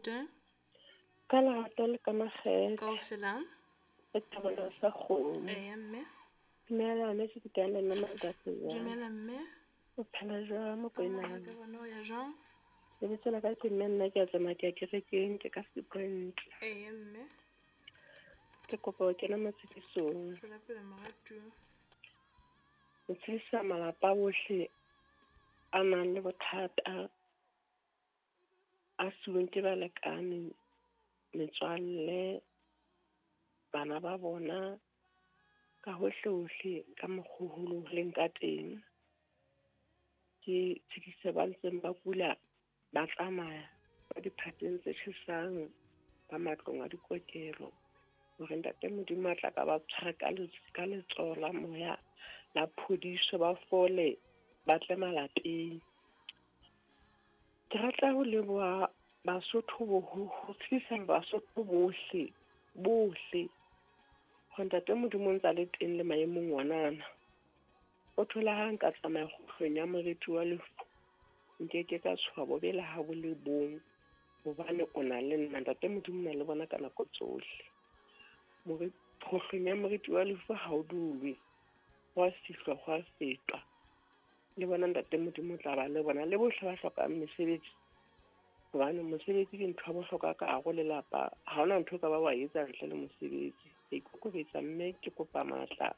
Le Ka lerato le ka makgethe. Kaofela. E thabela sa kgomo. Eya mme. Dumela mme ke le nna Mantate jwang? Dumela mme. O phela jwang Mokoena? Ka bona o ya jwang? Lebitso la ka ke mme nna ke a tsamaya ke ya kerekeng ke ka Sepoint. Eya mme. Ke kopa ho kena matshedisong. Tswela pele moratuwa. Ho tshedisa malapa ohle a nang le bothata a siuweng ke balekane, metswalle, bana ba bona, ka hohle hohle ka mokgo ho leng ka teng. Ke tshedise ba ntseng ba kula, ba tsamaya ba diphateng tse tjhesang, ba matlong a dikokelo. Hore ntate Modimo a tla ka ba tshware ka letsoho la moya la phodiso, ba fole, ba tle malapeng. Ke rata ho leboha Basotho ho tshedisa Basotho bohle, bohle. Hore ntate Modimo o ntsa le teng le maemong onana. O thola ha nka tsamaya kgutlong ya moriti wa lefu, nkeke ka tshoha bobe le ha bo le bong, hobane o na le nna. Ntate Modimo o na le bona ka nako tsohle. Kgohlong ya moriti wa lefu ha o dulwe, ho a fihlwa, ho a fetwa. Le bona ntate Modimo o tla ba le bona, le bohle ba hlokang mesebetsi. Hobane mosebetsi ke ntho ya bohlokwa ka hare ho lelapa. Ha hona ntho o ka ba wa etsa ntle le mosebetsi. Ke ikokobetsa mme ke kopa matla.